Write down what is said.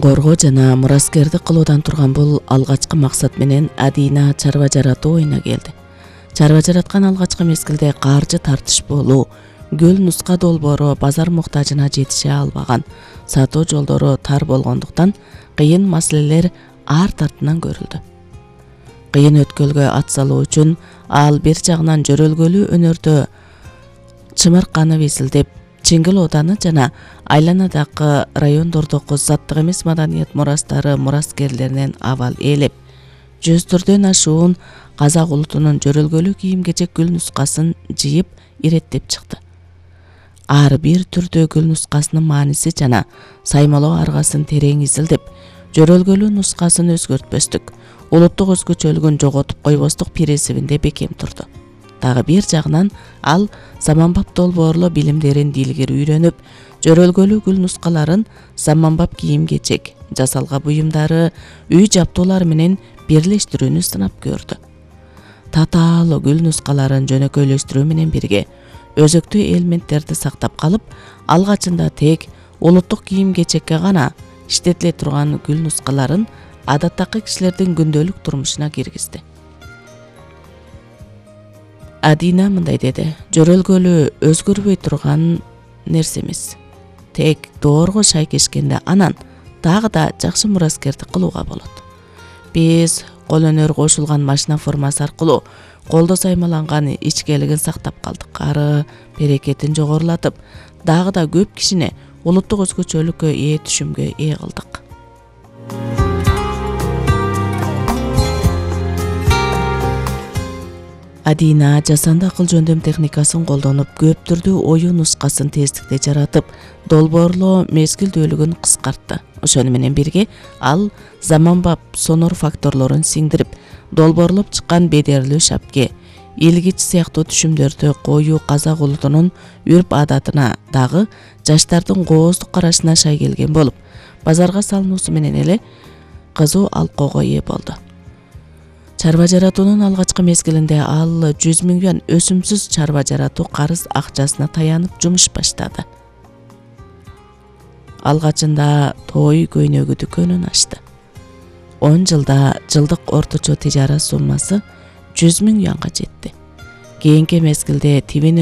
Коргоо жана мураскерди кылуудан турган бул алгачкы максат менен Адина чарба жаратуу оюна келди. Чарба жараткан алгачкы мезгилде каржы тартышпоолуу, гүл нуска долбоору базар муктажына жетише албаган, сатуу жолдору тар болгондуктан кыйын маселелер арт артынан көрүлдү. Кыйын өткөлгө ат салуу үчүн ал бир жагынан жөрөлгөлүү өнөрдө чымырканып эсилдеп, Чиңгил ооданы жана айланадагы райондордогу заттык эмес маданият мурастары мураскерлеринен абал ээлеп, 100 ашуун казак улутунун жөрөлгөлүү кийим-кечек гүл нускасын жыйып иреттеп чыкты. Ар бир түрдүү гүл нускасынын мааниси жана саймалоо аргасын терең изилдеп, жөрөлгөлүү нускасын өзгөртпөстүк, улуттук өзгөчөлүгүн жоготуп койбостук пиресибинде бекем турду. Дагы бир жагынан ал заманбап долбоорлоо билимдерин дилгер үйрөнүп, жөрөлгөлүү гүл нускаларын заманбап кийим-кечек, жасалга буюмдары, үй жаптуулары менен бирлештирүүнү сынап көрдү. Татаалуу гүл нускаларын жөнөкөйлөштүрүү менен бирге өзөктүү элементтерди сактап калып, алгачында тек улуттук кийим-кечекке гана иштетиле турган гүл нускаларын адаттагы кишилердин күндөлүк турмушуна киргизди. Адина мындай деди: жөрөлгөлүү өзгөрбөй турган нерсе эмес. Тек доорго шайкешкенде анан дагы да жакшы мураскердик кылууга болот. Биз кол өнөр кошулган машина формасы аркылуу колдо саймаланган ичкелигин сактап калдык. Ары берекетин жогорулатып, дагы да көп кишини улуттук өзгөчөлүккө ээ түшүмгө ээ кылдык. Адина жасанды акыл жөндөм техникасын колдонуп, көп түрдүү оюн нускасын тездикте жаратып, долбоорлоо мезгилдүүлүгүн кыскартты. Ошону менен бирге ал заманбап сонор факторлорун сиңдирип, долбоорлоп чыккан бедерлүү шапке, илгич сыяктуу түшүмдөрдү коюу казак улутунун үрп адатына, дагы жаштардын кооздук карашына шай келген болуп, базарга салынуусу менен эле кызуу алкоого ээ болду. Чарба жаратуунун алгачкы мезгилинде ал 100 000 юан өсүмсүз чарба жаратуу карыз акчасына таянып жумуш баштады. Алгачында той көйнөгү дүкөнүн ачты. 10 жылда жылдык орточо тижара суммасы 100 000 юанга жетти. Кийинки мезгилде тибин